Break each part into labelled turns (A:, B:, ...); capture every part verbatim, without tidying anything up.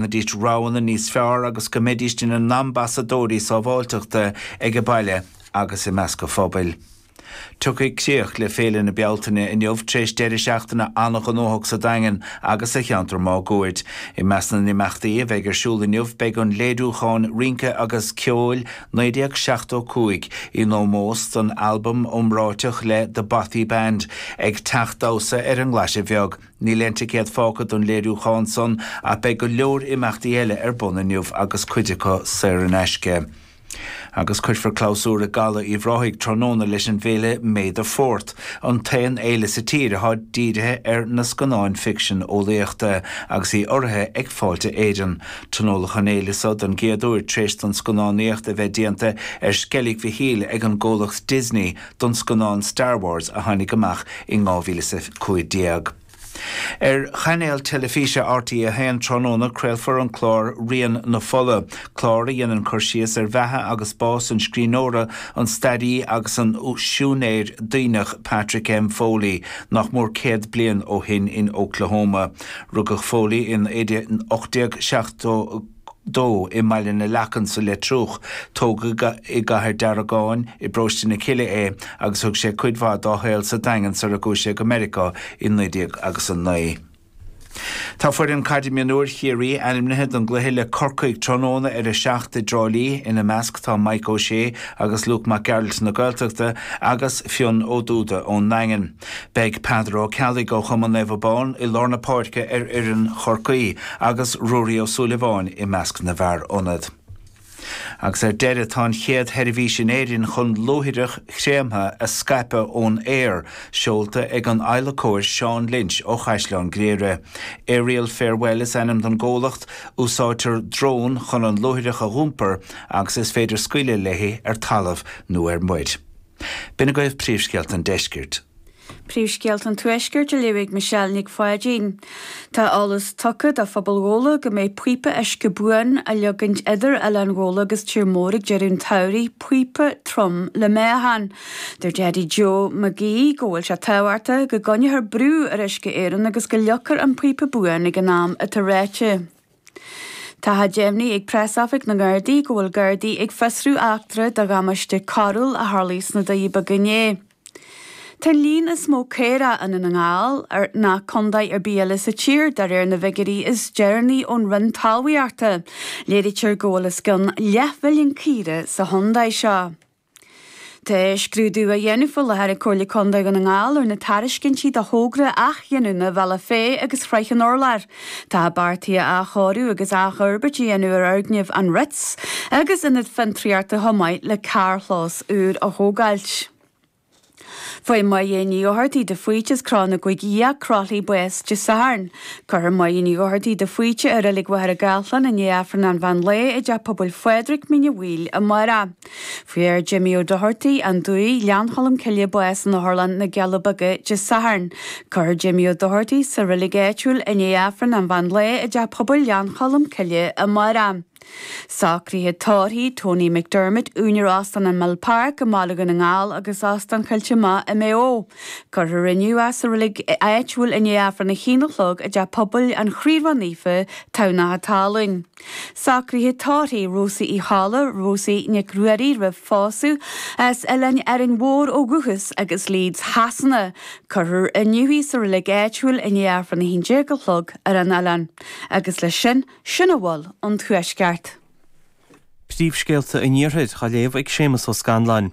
A: ndéanfaidís roghanna níos fearr agus go mbeidís ina n-ambasadóirí sábháilteachta ag an baile agus i measc an phobail. Tiocfaidh críoch le Féile na Bealtaine inniu tar éis deireadh seachtaine an-ghnóthach sa Daingean agus sa cheantar máguaird. I measc na n-imeachtaí a bheidh ar siúl inniu beidh an léiriúchán rince agus ceoil naoi déag seachtó cúig in ómós don albam iomráiteach le The Bothy Band ag Teach Damhsa ar an nGlaise Bheag. Níl aon ticéad fágtha don léiriúchán san ach beidh go leor imeachtaí eile ar bun inniu agus cuid acu saor in aisce. Agus cuirfear clabhsúr i gCaladh Uíbh Ráthaigh tráthnóna leis an bhféile May the Fourth, an t-aon fhéile sa tír atá dírithe ar na scannáin ficsean eolaíochta agus í urraithe ag Fáilte Éireann. Tionóladh an fhéile seo don gcéad uair tar éis don scannánaíocht a bheith déanta ar Sceilg Mhichíl ag an gcomhlacht Disney don scannán Star Wars a tháinig amach in dhá mhíle is a cúig déag. Ar chainéal teilifíse R T a haon tráthnóna craolfar an clár Rian na Fola, clár a dhéanann cur síos ar bheatha agus bás an scríbhneora, an staraí agus an siúinéir Duibhneach Patrick M. Foley nach mór céad bliain ó shin in Oklahoma. Rugadh Foley in ocht déag seachtó dó i mBaile na Leacan sa Leitriúch. Tógadh i gCathair Deargáin i bparóiste na Cille é agus thug sé cuid mhaith dá shaol sa Daingean sara gcuaigh sé go Meiriceá i naoi déag agus a naoi. Tá foireann caide mionúir Chiarraí ainmnithe don gcluiche le Corcaigh tráthnóna ar a seacht i dTrá Lí. Ina measc tá Mike O'Shea agus Luke Mac Gearailt na Gaeltachta agus Fionn Ó Dúda ón nDaingean. Beidh Peadar Ó Ceallaigh ó Chumann Naomh Abán i lár na páirce ar fhoireann Chorcaí agus Ruairí Ó Súilleabháin i measc na bhfear ionad. Agus ar deireadh, tá an chéad sheirbhís in Éirinn chun luaithreach chréamtha a scaipeadh ón aer seolta ag an adhlacóir Seán Lynch ó Chaisleán Ghriaire. Aerial Farewell is ainm don gcomhlacht, úsáidtear drón chun an luaithreach a dh'iompar agus is féidir scaoileadh léi ar talamh nó ar muir. B'in agaibh príomhscéalta an deiscirt.
B: Príomhscéalta an Tuaiscirt á léamh ag Michelle Nic Pháidín. Tá eolas tugtha do phobal Ghabhla go mbeidh píopa uisce buan á leagaint idir Oileán Ghabhla agus Tír Mór ag deireadh an tsamhraidh, píopa trom le meáchan. Dúirt Eddie Joe McGee go bhfuil sé tábhachtach go gcoinneofar brú ar Uisce Éireann agus go leagfar an píopa buan ag an am atá ráite. Tá deimhnithe ag Preasoifig na nGardaí go bhfuil Gardaí ag fiosrú eachtra de dhamáiste coiriúil a tharla sna Doirí Beaga inné. Tá an líon is mó caorach i nDún na nGall ar ná contae ar bith eile sa tír de réir na bhfigiúirí is deireanaí ón Roinn Talmhaíochta. Léirítear go bhfuil os cionn leathmhilliún caora sa chontae seo. Tá scrúdú á dhéanamh faoi láthair ag Comhairle Contae Dhún na nGall ar na tairiscintí do thogra athghiniúna Bhealach Féich agus Shraith an Urláir. Tá beartaithe athchóiriú agus athfhorbairt a dhéanamh ar fhoirgneamh an Ritz agus ionad fiontraíochta chomh maith le carrchlós úr a thógáilt. Fuair Máire Ní Dhochartaigh de Faoite as Cró na gCúig Fhiach, Croithlí bás Dé Sathairn. Cuirfear Máire Ní Dhochartaigh de Faoite i Reilig Mhachaire Gathlán i ndiaidh Aifreann an mheán lae i dTeach Pobail Phádraig, Mín an Mhaoil amárach. Fuair Jimmy Ó Dochartaigh, An Dumhaigh, Gleann Cholm Cille bás in Otharlann na gCealla Beaga Dé Sathairn. Cuirfear Jimmy Ó Dochartaigh sa reilig áitiúil i ndiaidh Aifreann an mheán lae i dTeach Pobail Ghleann Cholm Cille amárach. Socruithe tórraimh Tony McDermott, úinéir Óstán an Mill Park i mBaile Dhún na nGall agus Óstán Choillte Mach i Maigh Eo. Cuirfear inniu é sa reilig áitiúil i ndiaidh Aifreann a haon a chlog i dTeach Pobail an Chroí Ró-Naofa, Tamhnach an Talún. Socruithe tórraimh Rosie Uí Cholla, Rosie Nic Ruairí roimh phósadh as Oileán Árainn Mhór ó dhúchas agus Leeds Shasana. Cuirfear inniu í sa reilig áitiúil i ndiaidh Aifreann a haon déag a chlog ar an oileán. Agus leis sin, sin a bhfuil ón Tuaisceart.
C: Príomhscéalta an Iarthair á léamh ag Séamus Ó Scanláin.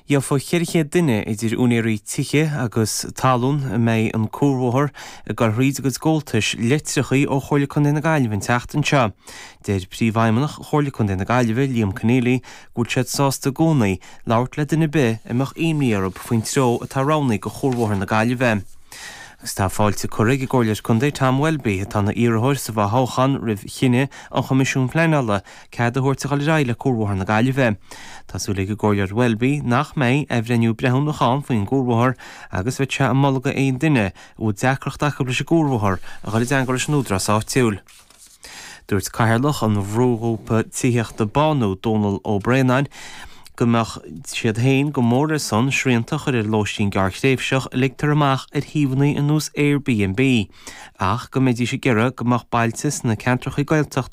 C: Gheofa ceithre chéad duine idir úinéirí tithe agus talún a mbeidh an cuarbhóthar ag dul thríd a gcuid gabháltais litreacha ó Chomhairle Contae na Gaillimhe an tseachtain seo. Deir Príomhfheidhmeannach Chomhairle Contae na Gaillimhe, Liam Conneely, go bhfuil siad sásta i gcónaí labhairt le duine ar bith a mbeadh imní orthu faoin treo atá roghnaithe do chuarbhóthar na Gaillimhe. Agus tá fáilte curtha ag an gComhairleoir Contae Tom Welby, atá ina iarrthóir sa bhfothoghchán roimh chinneadh an Choimisiúin Pleanála cead a thabhairt a dhul ar aghaidh le Cuarbhóthar na Gaillimhe. Tá súil ag an gComhairleoir Welby nach mbeidh athbhreithniú breithiúnach ann faoin gcuarbhóthar agus bheadh sé ag moladh do aon duine a bhfuil deacracht acu leis an gcuarbhóthar a dhul i dteagmháil leis an údarás áitiúil. Dúirt Cathaoirleach an bhrúghrúpa tithíochta Bánú, Dónal Ó Braonáin, go mbeadh siad féin go mór ar son srianta a chur ar lóistín gearrthréimhseach a ligtear amach ar shuíomhanna ar nós Airbnb, ach go mbeidís ag iarraidh go mbeadh bailte sna ceantracha Gaeltachta